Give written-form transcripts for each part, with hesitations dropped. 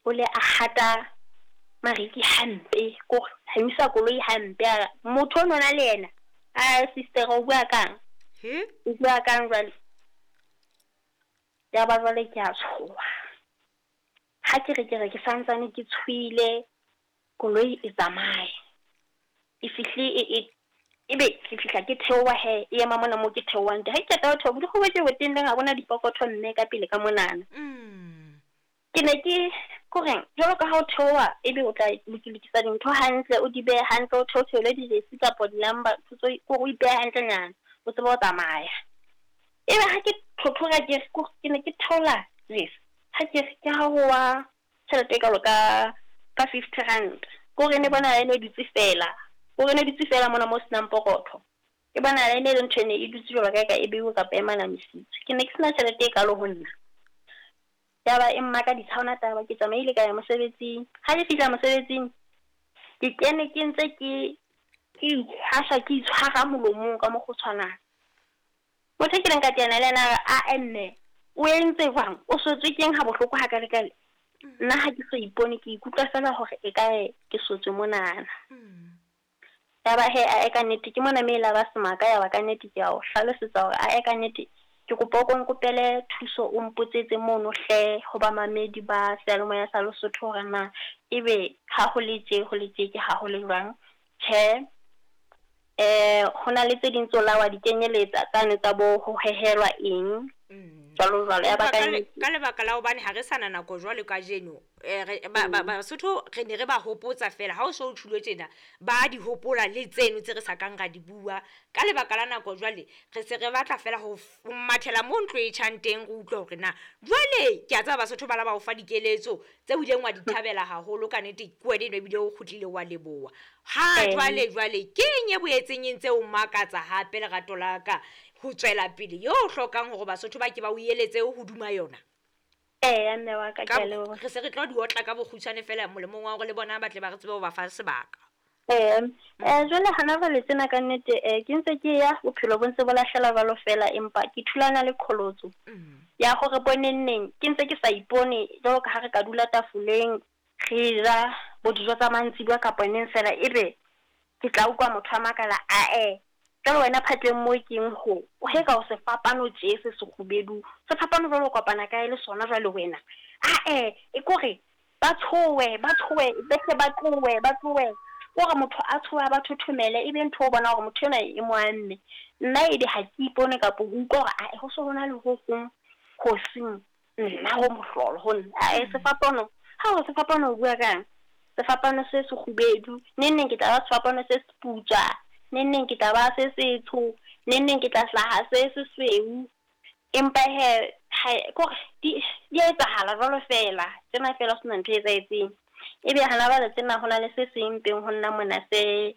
O le a hata mariki hampe, ko hamisa koloi hampe. A re, motho o nona le yena. A sister o bua kang? He? O bua kang jwale? Ya ba jwale ke a tshoha. Ha ke re ke re ke santsane ke tshohile, koloi e tsamaye. E fihle e ebe ke fihla ke theoha he, e ema mona moo ke theohang teng. Ha ke qeta ho theoha, bodikgwe bo tje bo teng ha bona dipokotho mme ka pele ka monana. Ke ne ke koreng jwalo ka ha o theoha ebe o tla lokisa dintho hantle, o di behe hantle, o theotheole dijesi kapa di-number, ntho tse kore o ipehe hantlenyana, o tsebe ho tsamaya. Ebe ha ke thothora ke re ke ne ke theola jesi, ha ke re ke ha ho wa tjhelete e kalo ka 50 rand. Kore ne bona e ne dutse fela, kore ne dutse fela mona mo senang pokotho. Ke bona e ne le ntho e ne e dutse jwalo ka e ka e beiwe kapa e manamisitswe. Ke ne ke sena tjhelete e kalo ho nna. Ya ba e mmakadisa ha hona taba, ke tsamaile ka ya mosebetsing. Ha ke fihla mosebetsing, ke kene ke ntse ke itshwasa, ke itshwara molomong ka mokgwa o tshwanang. Motho e kileng ka teana le yena a re, ae mme, o entse jwang? O sotswe keng ha bohloko hakalekale? Nna ha ke so ipone, ke ikutlwa fela hore e kae ke sotswe monana. Ya ba he, ae ka nnete ke mona me la ba semaka, ya ba ka nnete ke a o hlalosetsa hore ae ka nnete ke kopa o ko nkopele thuso, o mpotsetse mono hle ho bamamedi ba seyalemoya sa Lesotho hore na ebe ha ho le tje ho le tje ke ha ho le jwang. Tjhe, ho na le tse ding tseo la wa di kenyeletsa tsane tsa bo ho hehelwa eng jwalo jwalo. Ya ba ka nnete. Ka lebaka la hobane ha re sana nako jwalo kajeno, Basotho re ne re ba hopotsa fela ha o so o tjhulo tjena, ba di hopola le tseno tse re sa kang ra di bua. Ka lebaka la nako jwale re se re batla fela ho mathela mo ntlo e tjhang teng, re utlwe hore na jwale ke a tseba Basotho ba la ba o fa dikeletso tse o ileng wa di thabela haholo ka nnete, ke wena eno ebile o kgutlile wa leboha. Ha jwale jwale ke eng e boetseng e ntse o makatsa hape lerato la ka ho tswela pele yo o hlokang hore Basotho ba ke ba o eletse hoduma yona? Eya mme wa ka, ke a leboha. Re se re tlo di otla ka bokgutshwane fela molemong wa hore le bona ba tle ba re tsebe ho ba fa sebaka. Jwale hana jwale tsena ka nnete, ke ntse ke ya bophelo bo ntse bo lahlela jwalo fela, empa ke thulana le qholotso ya hore bonenneng ke ntse ke sa ipone jwalo ka ha re ka dula tafoleng re ja bo dijo tsa mantsibuya kapa neng fela, ebe ke tla utlwa motho a makala, ae jwale wena phatleng moo keng ho o he ka o sefapano tje se sekgubedu, sefapano jwale o kopana kae le sona jwale wena? Ae e kore ba tshohe, ba tshohe, behle ba tlohe, ba tlohe. Kore motho a tshohe, a ba thothomele, ebe ntho o bona hore motho enwa e mo amme. Nna ebe ha ke ipone kapa ho utlwa hore ae ho so hona le ho hong ho seng nna ho mohlolo ho nna. Ae sefapano, ha o sefapano o bua kang? Sefapano se sekgubedu, neng neng ke tla ba sefapano se seputswa, neng neng ke tla ba se setsho, neng neng ke tla hlaha se sesweu. Empa he, ha kore di etsahala jwalo fela, tsena fela ho sena ntho e etsahetseng. Ebe hana jwale tsena ho na le se seng mpeng ho nna mona se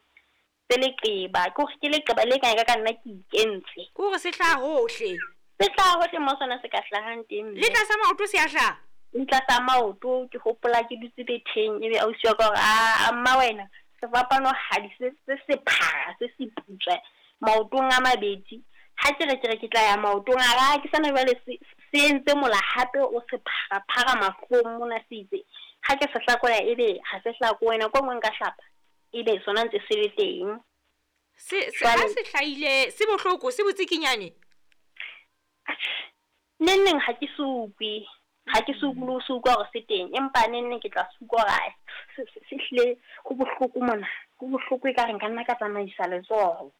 leqeba, ke hore ke leqeba le kang ka nna ke ikentse. Ke hore se hlaha hohle. Se hlaha hohle mo sona se ka hlahang teng. Le tlasa maoto se a hlaha? Le tlasa maoto, ke hopola ke dutse betheng, ebe ausi wa ka hore a mma wena sefapano hadi se sephara se seputswa maotong a mabedi. Ha ke re ke re ke tla ya maotong a ka, ke sana jwale se entse mola hape o sephara-phara mahlong mona se itse. Ha ke se hlakola ebe ha se hlakowe, nako e nngwe nka hlapa ebe sona ntse se le teng. Se ha se hlahile se bohloko, se botsikinyane? Neng neng ha ke se utlwe, ha ke se utlwe le ho se utlwa hore se teng, empa neng neng ke tla se utlwa hore se hlile ho bohloko mona, ho bohloko ekare nka nna ka tsamaisa letsoho.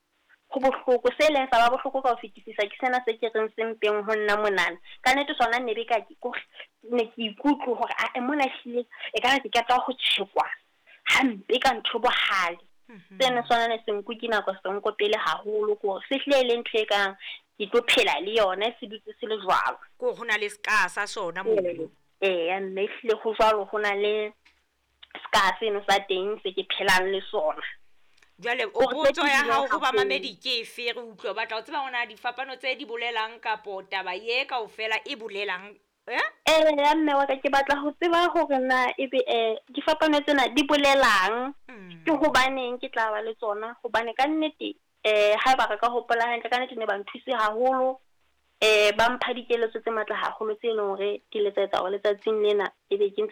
Ho bohloko, se leng sa ba bohloko ka ho fetisisa ke sena se ke reng se mpeng ho nna monana. Ka nnete sona ne be ka ke ne ke ikutlwe hore ae mona ehlile ekare ke qeta ho tjhekwa hampe ka ntho bohale. Sena sona ne se nkuke nako se nkopele haholo, ke hore se hlile e le ntho e kang ke tlo phela le yona se dutse se le jwalo. Ke hore ho na le ska sa sona moo. Eya mme ehlile ho jwalo, ho na le ska seno sa teng se ke phelang le sona. Jwale o potso ya hao ho bamamedi ke efe, re utlwe batla ho tseba hore na difapano tse di bolelang kapo taba ye kaofela e bolelang? Ya mme wa ka, ke batla ho tseba hore na ebe difapano tsena di bolelang, ke hobaneng ke tla ba le tsona, hobane ka nnete haeba re ka hopola hantle, ka nnete ne ba nthuse haholo, ba mpha dikeletso tse matla haholo tse leng hore di letsa etsa hore letsatsing lena ebe ke ntse